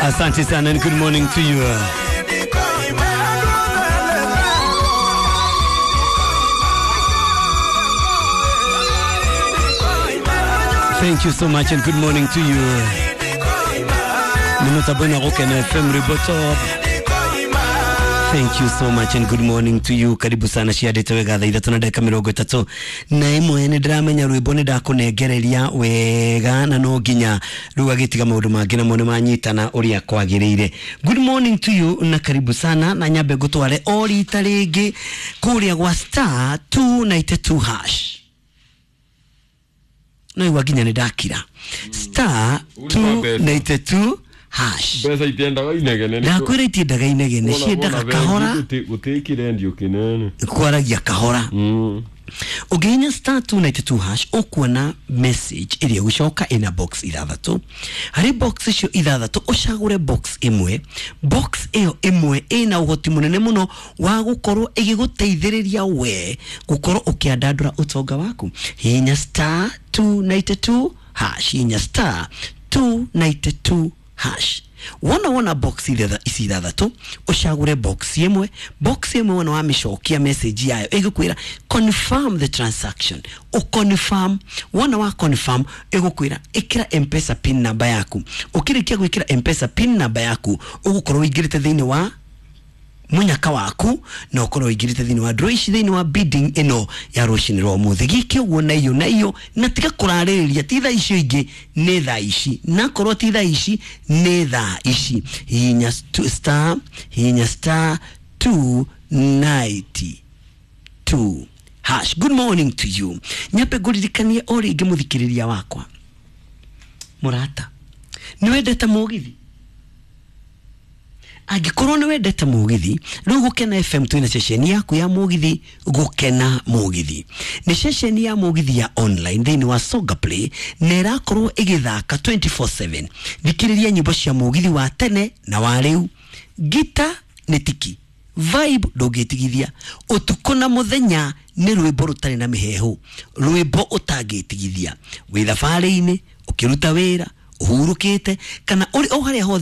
Asante sana and good morning to you. Thank you so much and good morning to you. Nimutabona Gukena FM Ribotop. Thank you so much and good morning to you. Karibu sana ciandĩte wega thaa ithatũ na ndagĩka mĩrongo ĩtatũ na ĩmwe. Nĩ ndĩramenya rwĩmbo nĩ ndakũnengereria wega na no nginya rĩu agĩtiga maũndũ mangĩ namo nĩ manyitana ũrĩa kwagĩrĩire. Good morning to you na karibu sana, na nyambe ngũtware o rita rĩngĩ kũrĩa gwa star 292 hash. No igua nginya nĩ ndakira star 292 hash. Mbeca itiendaga inegene. Ndakwĩra itiendaga inegene, ciendaga kahora. Gũtirĩ kĩrendio kĩnene. Kwaragia kahora. Ũngĩhihinya star 292 hash, ũkuona message ĩrĩa ĩgũcoka ĩna box ithathatũ. Harĩ box icio ithathatũ, ũcagũre box ĩmwe. Box ĩyo ĩmwe ĩna ũhoti mũnene mũno wa gũkorwo ĩgĩgũteithĩrĩria we gũkorwo ũkĩandandũra ũtonga waku. Hihinya star 292 hash, hihinya star 292 hash. Wona box ici ithathatũ, ũcagũre box ĩmwe. Box ĩmwe wona wamĩcokia, message yayo ĩgũkwĩra "Confirm the transaction." Ũconfirm. Wona wa confirm, ĩgũkwĩra ĩkĩra Mpesa PIN number yaku. Ũkĩrĩkia gwĩkĩra Mpesa PIN number yaku, ũgũkorwo ũingĩrĩte thĩinĩ wa munyaka waku na ũkorwo ũingĩrĩte thĩinĩ wa draw ici thĩinĩ wa bidding ĩno ya rũcinĩ rwa ũmũthĩ. Gĩke ũguo na iyo na iyo, na tiga kũrarĩrĩria. Ti thaa icio ingĩ, nĩ thaa ici, nakorwo ti thaa ici, nĩ thaa ici. Hihinya star, hihinya star 292 hash. Good morning to you. Nyambe ngũririkanie o rĩngĩ, mũthikĩrĩria wakwa mũrata, nĩ wendete mũgithi? Angĩkorwo nĩ wendete mũgithi, rĩu Gũkena FM twĩna ceceni yaku ya mũgithi. Gũkena Mũgithi nĩ ceceni ya mũgithi ya online thĩinĩ wa Songa Play na ĩrakorwo ĩgĩthaka 24/7. Thikĩrĩria nyĩmbo cia mũgithi wa tene na wa rĩu. Ngita nĩ tiki vibe ndũngĩtigithia ũtukũ na mũthenya. Nĩ rwĩmbo rũtarĩ na mĩheehũ, rwĩmbo ũtangĩtigithia wĩ thabarĩ-inĩ, ũkĩruta wĩra, ũhurũkĩte, kana ũrĩ o harĩa hothe.